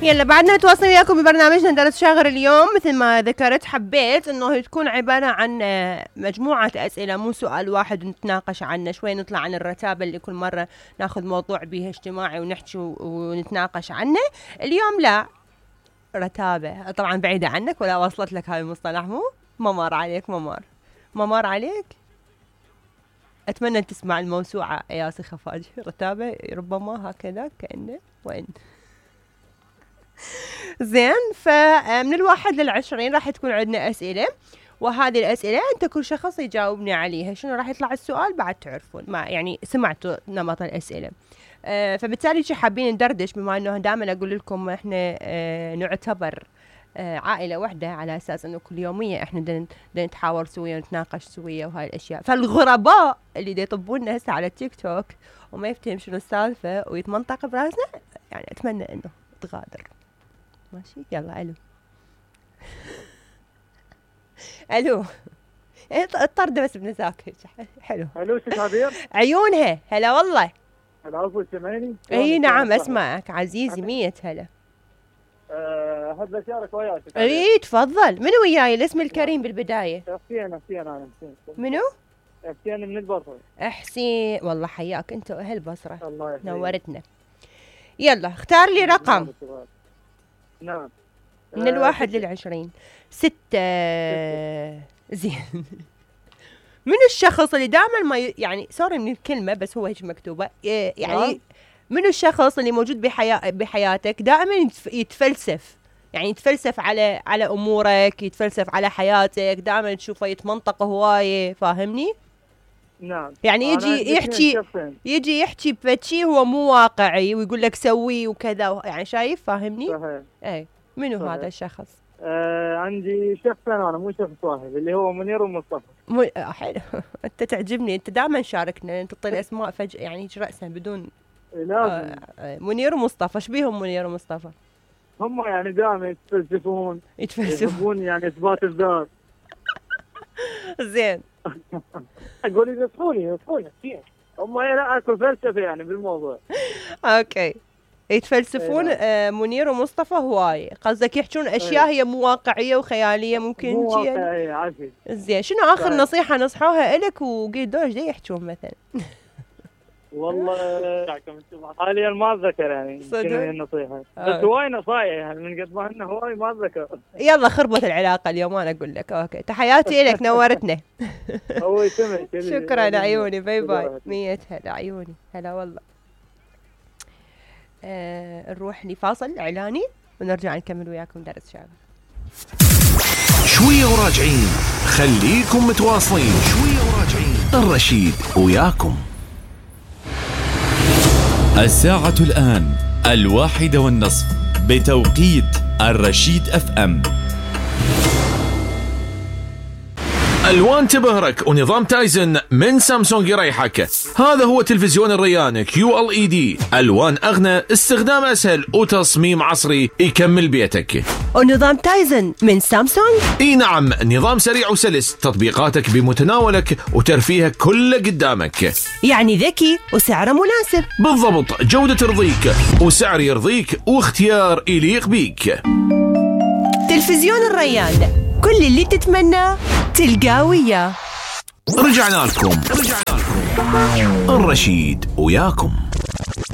يلا بعدنا نتواصل وياكم ببرنامجنا درس شاغر اليوم. مثل ما ذكرت حبيت انه تكون عبارة عن مجموعة اسئلة مو سؤال واحد نتناقش عنه شوي، نطلع عن الرتابة اللي كل مرة ناخذ موضوع بيه اجتماعي ونحكي ونتناقش عنه. اليوم لا رتابة، طبعا بعيدة عنك ولا وصلت لك هاي المصطلح، ما مر عليك، ما مر عليك. اتمنى ان تسمع الموسوعة ياسي خفاجي، رتابة ربما هكذا كأنه وين. زين، فمن 1 ل20 راح تكون عندنا أسئلة، وهذه الأسئلة أنت كل شخص يجاوبني عليها. شنو راح يطلع السؤال بعد تعرفون، ما يعني سمعتوا نمط الأسئلة. فبالتالي شو حابين ندردش، بما أنه دائما أقول لكم إحنا نعتبر عائلة واحدة، على أساس أنه كل يومية إحنا نتحاور سويا ونتناقش سويا وهاي الأشياء. فالغرباء اللي يطبون هسه على التيك توك وما يفتهم شنو السالفة ويتمنطق براسنا، يعني أتمنى أنه تغادر. ماشي، يلا الو الو الطرد بس بنساك حلو. الو ست عبير، عيونها هلا والله. العفو سمعني. اي نعم اسمعك عزيزي، 100 هلا. هاد بشارك وياك. اي تفضل. منو وياي الاسم الكريم بالبداية؟ حسين انا حسين. منو؟ حسين من البصرة. حسين، والله حياك انت واهل البصرة، الله يحييك، نورتنا. يلا اختار لي رقم. نعم. من 1 ل20. 6. زين. من الشخص اللي دائما ما يعني سوري من الكلمة بس هو هيك مكتوبة، يعني من الشخص اللي موجود بحياتك دائما يتفلسف، يعني يتفلسف على امورك، يتفلسف على حياتك، دائما تشوفه يتمنطق هواية، فاهمني؟ نعم. يعني يجي يحكي بشيء هو مو واقعي ويقول لك سوي وكذا، يعني شايف، فاهمني؟ صحيح. اي منو صحيح. هذا الشخص؟ عندي شخصين انا، مو شخص واحد، اللي هو منير ومصطفى. حلو. انت تعجبني، انت دائما شاركنا، انت تعطي الاسماء فجأة يعني هيك رأسا بدون. لازم. منير ومصطفى، ايش بيهم منير ومصطفى؟ هم يعني دائما يتفلسفون يحبون يعني اثبات الذات. زين. اقول ينصحوني كثير، هم لا اكو فلسفه يعني بالموضوع. اوكي، يتفلسفون. منير ومصطفى هواي، قصدك يحجون اشياء هي مو واقعيه وخياليه ممكن مو واقعيه عافية. زين، شنو اخر نصيحه نصحوها لك وقيدوا ايش يحجون مثلا؟ والله حاليا ما اتذكر يعني شنو هي النصيحه، بس هواي نصايح يعني من قد ما انه هواي ما اتذكر. يلا خربت العلاقه اليوم، انا اقول لك. اوكي، تحياتي لك، نورتنا. هو يسمعك. شكرا عيوني، باي باي. 100 هلا عيوني، هلا والله. نروح لفاصل اعلاني ونرجع نكمل وياكم درس شاغر. شويه وراجعين، خليكم متواصلين. شويه وراجعين، الرشيد وياكم. الساعة الآن 1:30 بتوقيت الرشيد FM. الوان تبهرك ونظام تايزن من سامسونج يريحك. هذا هو تلفزيون الريان QLED، الوان اغنى، استخدام اسهل، وتصميم عصري يكمل بيتك. ونظام تايزن من سامسونج؟ اي نعم، نظام سريع وسلس، تطبيقاتك بمتناولك وترفيهك كله قدامك، يعني ذكي وسعره مناسب. بالضبط، جودة ترضيك وسعر يرضيك واختيار يليق بيك. تلفزيون الريان، كل اللي تتمناه تلقاه وياه. رجعنا لكم. الرشيد وياكم.